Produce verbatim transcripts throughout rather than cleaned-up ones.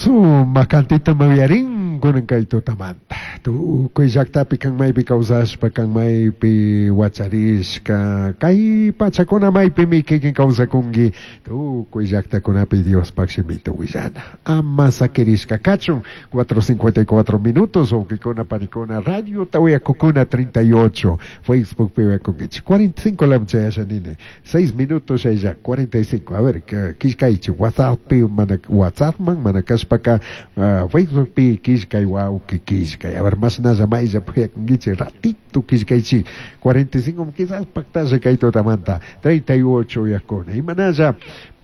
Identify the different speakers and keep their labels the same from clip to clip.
Speaker 1: Sumak cantita mawiarin kunan kay tutamanta. Tukuy llaqtapi kan maypi kawsashpa kan maypi wacharishka kay pachakuna maypimi kikin kawsakunki tukuy llaqtakunapi Diospaq shimita willana. Ama sakirishka kachun cuatro cincuenta y cuatro minutos, wawqikuna panikuna, radio tawiyakukuna treinta y ocho, Facebook pi uyakunkichik cuarenta y cinco lam chayasha nini seis minutos ya cuarenta y cinco. A ver, killkaychik WhatsApp pi, mana WhatsApp man mana kashpaka uh, Facebook pi killkay, wawqi, killkay. A ver, mashnalla maylla puyakunkichik, ratito killkaychik. cuarenta y cinco quizás paktasha kay tutamanta treinta y ocho uyakuna. Imanalla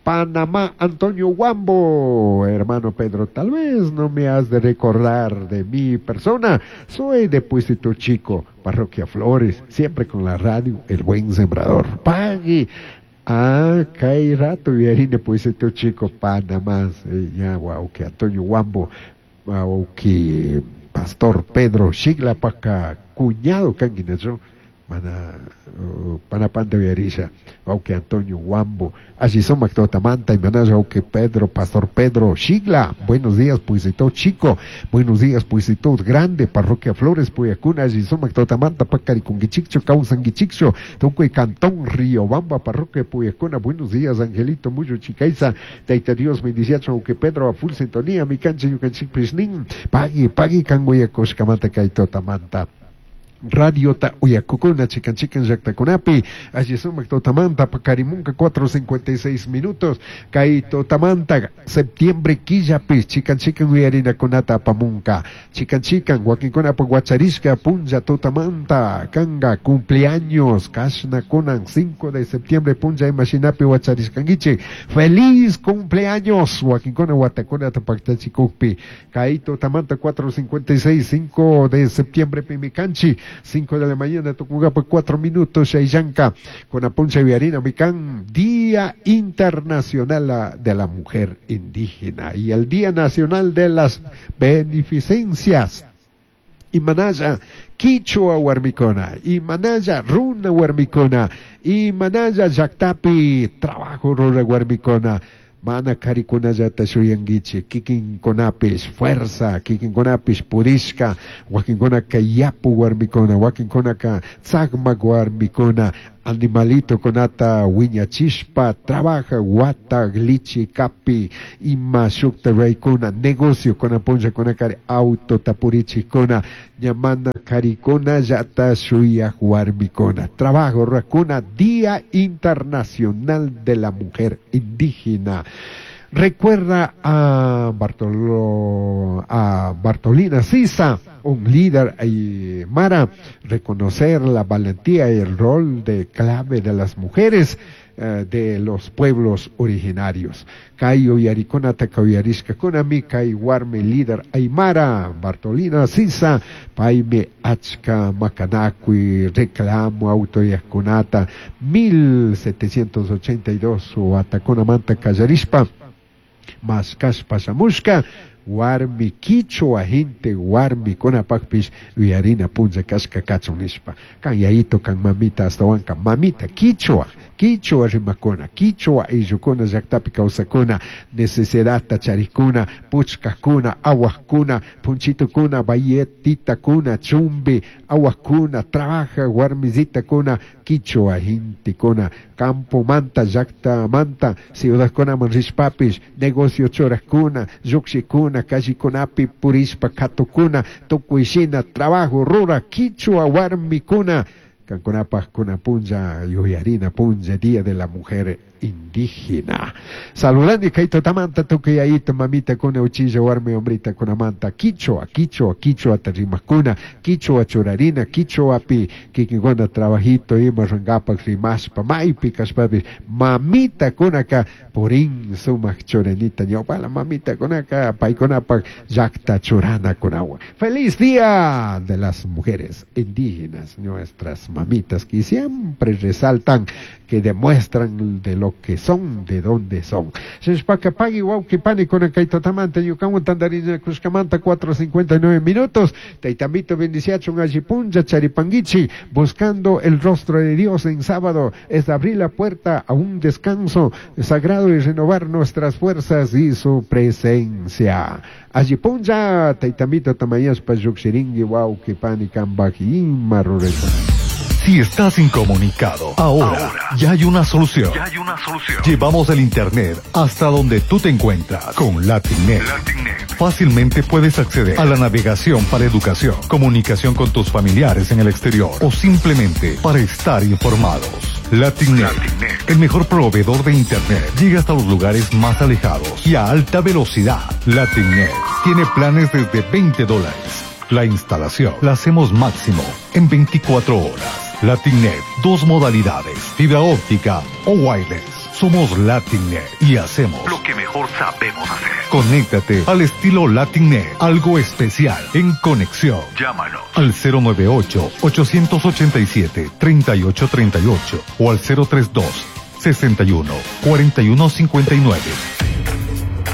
Speaker 1: Panamá, Antonio Guambo, hermano Pedro, tal vez no me has de recordar de mi persona. Soy de Puisito Chico, Parroquia Flores, siempre con la radio El Buen Sembrador. Pague. Ah, kay rato de Puisito Chico, Panamá. Ya, wow, que Antonio Guambo, wow, que Pastor Pedro Shigla paca, cuñado kanki, mana uh, panapanta uyarisha, wawqi Antonio Guambo, alli sumak tutamanta. Imanalla wawqi Pedro, Pastor Pedro Shigla, buenos días, Puisito Chico, buenos días, Puisito Grande, Parroquia Flores, Puyacuna, alli sumak tutamanta, paqarikunkichikchu, kawsankichikchu, tukuy Cantón Riobamba, Parroquia Puyacuna, buenos días, Angelito Muyo Chicaiza, Taita Dios bendiciacho, wawqi Pedro, a full sintonía, mi cancha ñukanchikpishnin, pagui, pagui kan uyakushkamanta kay tutamanta. Radiota uyakukuna chikan chikan llaqtakunapi, alli sumak tutamanta, paqarimunka cuatro cincuenta y seis minutos. Kay tutamanta septiembre killapi chikan chikan uyarinakunata apamunka chikan chikan wakinkunapaq wacharishka punlla tutamanta kanga cumpleaños kashna kunan cinco de septiembre punlla imashinapi wacharishkankichik, feliz cumpleaños wakinkuna watakunata paktachikukpi. Kay tutamanta cuatro cincuenta y seis, cinco de septiembre pimi kanchik, cinco de la mañana tukunkapaq cuatro minutos shayllanka con puncha uyarina mikan Día Internacional de la Mujer Indígena y el Día Nacional de las Beneficencias. Imanalla Kichwa warmikuna, imanalla runa warmikuna, imanalla llaqtapi trabajo rura warmikuna, mana karikunallata shuyankichik, kikinkunapish fuerza, kikinkunapish purishka, wakinkunaka yapu warmikuna, wakinkunaka tzakmak warmikuna, animalito kunata wiñachishpa trabaja wata lichi kapi ima shukta raykuna negocio kuna punllakuna kari auto tapurichikuna ña mana karikunallata shuyak warmikuna trabajo rurakuna. Día Internacional de la Mujer Indígena. Recuerda a, Bartolo, a Bartolina Sisa, un líder aymara, reconocer la valentía y el rol de clave de las mujeres eh, de los pueblos originarios. Kay uyarikunata uyarishkakunami kay warmi líder aymara Bartolina Sisa, paymi achka makanakuy reclamo autoridadkunata mil setecientos ochenta y dos watakunamanta kallarishpa mashkashpa shamushka warmi kichwa gente warmikunapaqpish uyarina punlla kashka kachun nishpa. Kan yayito, kan mamita, astawanka mamita kichwa, kichwa rimakuna, kichwa ayllukuna llaqtapi kawsakuna, necesidadta charikuna, puchkakuna, awaqkuna, punchitukuna, bayetitakuna, chumbi awaqkuna, trabaja warmisitakuna, kichwa gentekuna campomanta, llaqtamanta ciudadkunaman rishpapish negocio churakuna, lluqshikuna, callekunapi purishpa katukuna, tukuy shina trabajo rura kichwa warmikuna. Kankunapaq kuna punlla yuyarina punlla, Día de la Mujer Indígena. Saludando kay tutamanta tukuy yayito mamita kuna uchilla warmi hombrita kunamanta kichwa, kichwa, kichwa rimakuna, kichwa churarina, kichwapi kikinkuna trabajito ima runkapak rimashpa maypi kashpapish mamita kunaka purin sumak churanita ñawpala mamita kunaka paykunapak llaqta churana kunawan. Feliz Día de las Mujeres Indígenas, nuestras mamitas que siempre resaltan, que demuestran de lo lo que son, de dónde son. Shinashpaka pagui wawki pani kunan kay tutamanta ñukawan tantarinakushkamanta cuatro cincuenta y nueve minutos. Taytamito bendiciachun alli punlla charipanguichi, buscando el rostro de Dios en sábado, es abrir la puerta a un descanso sagrado y renovar nuestras fuerzas y su presencia. Alli punlla, taytamito tamayaspa llukshiringui wawki pani kambaj ima rurayta.
Speaker 2: Si estás incomunicado, ahora, ahora ya hay una solución. Ya hay una solución. Llevamos el internet hasta donde tú te encuentras con LatinNet. LatinNet. Fácilmente puedes acceder a la navegación para educación, comunicación con tus familiares en el exterior o simplemente para estar informados. LatinNet, LatinNet, el mejor proveedor de internet, llega hasta los lugares más alejados y a alta velocidad. LatinNet tiene planes desde veinte dólares. La instalación la hacemos máximo en veinticuatro horas. LatinNet, dos modalidades, fibra óptica o wireless. Somos LatinNet y hacemos
Speaker 3: lo que mejor sabemos hacer.
Speaker 2: Conéctate al estilo LatinNet, algo especial en conexión.
Speaker 3: Llámanos
Speaker 2: al cero nueve ocho, ochocientos ochenta y siete, treinta y ocho treinta y ocho o al cero tres dos, sesenta y uno, cuarenta y uno cincuenta y nueve.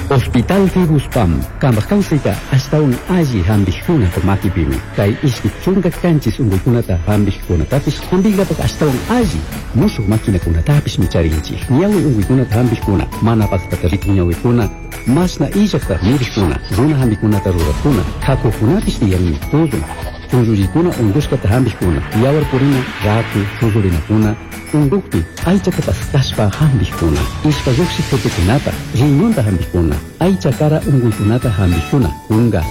Speaker 4: Hospital Fibuspam, kambaj hasta un alli hambijkunata makipimi, kay ishki chunka kanchis unquykunata hambijkunatapis, hambijllapak hasta un alli mushuq maquinakunatapis micharinchik. Ñawi unquykunata hambijkuna, mana paqtata rikuq ñawikuna, mashna illaqta mirijkuna, runa hambikunata ruraqkuna, hakuqkunapis tiyanmi, tullun, tunllullikuna unqushkata hambijkuna, yawar purina, raku, shusurinakuna, unqukpi aychata paskashpa hambijkuna, ishpa lluqshiq tutukunata, riñonta hambijkuna, aycha kara unquykunata hambijkuna, kunka,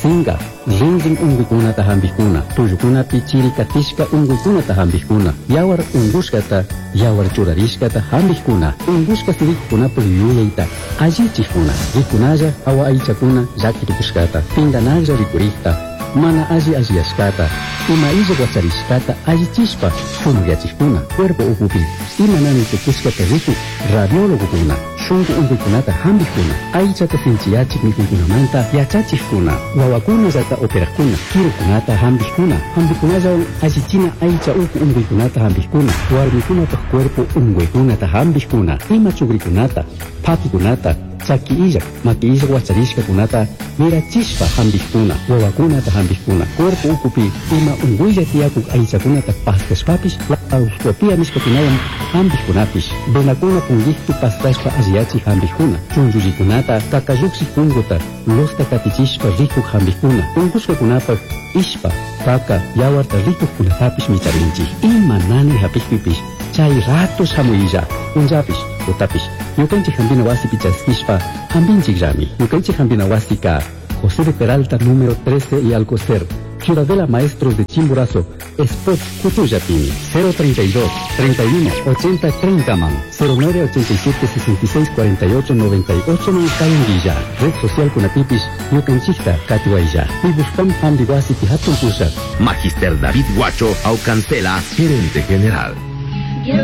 Speaker 4: sinka, rinrin unquykunata hambijkuna, tullukunapi chiri katishka unquykunata hambijkuna, yawar unqushkata, yawar churarishkata hambijkuna, unqushka sirikukunapaq yuyayta allichikuna, rikunalla hawa aychakuna llakirikushkata, pinganalla rikurikta, mana alli alliyashkata, ima illa wacharishkata allichishpa shumaqyachikuna, cuerpo ukupi ima nanay tukushkata rikuk radiólogokuna, shunqu unquykunata hambijkuna, aychata sinchiyachik mikuykunamanta yachachikuna, wawakunallata operaqkuna, kirukunata hambijkuna, hambikunallawan allichina aycha uku unquykunata hambijkuna, warmikunapaq cuerpo unquykunata hambijkuna, ima chukrikunata, phakikunata, chaki illaq, maki illaq wacharishkakunata mirachishpa hambijkuna, wawakunata hambijkuna, cuerpo ukupi ima unquylla tiyakuk aychakunata paskashpapish, laparoscopia nishkakunawan hambijkunapish, venakuna punguikpi paskashpa alliyachik hambijkuna, chunllullikunata kakalluqshik punguta losta katichishpa rikuk hambijkuna, unqushkakunapaq ishpa, kaka, yawarta rikukkunatapish micharinchik. Ima nanay hapikpipish chay rato shamuylla, punllapish, tutapish, ñukanchik hambina wasipi chaskishpa hambinchikllami. Ñukanchik hambina wasika José de Peralta número trece y Alcocer, Ciudadela Maestros de Chimborazo, Spot Cutuyapimi, cero treinta y dos, treinta y uno, ochenta, treinta man, cero nueve ochenta y siete, sesenta y seis, cuarenta y ocho, noventa y ocho, man, Cayanguilla, Red Social Kunatipis, Ñukanchikta, Catuaya, Fibuspam Hambi Wasipi Hatun Pusha.
Speaker 5: Magister David Guacho Aucancela, gerente general.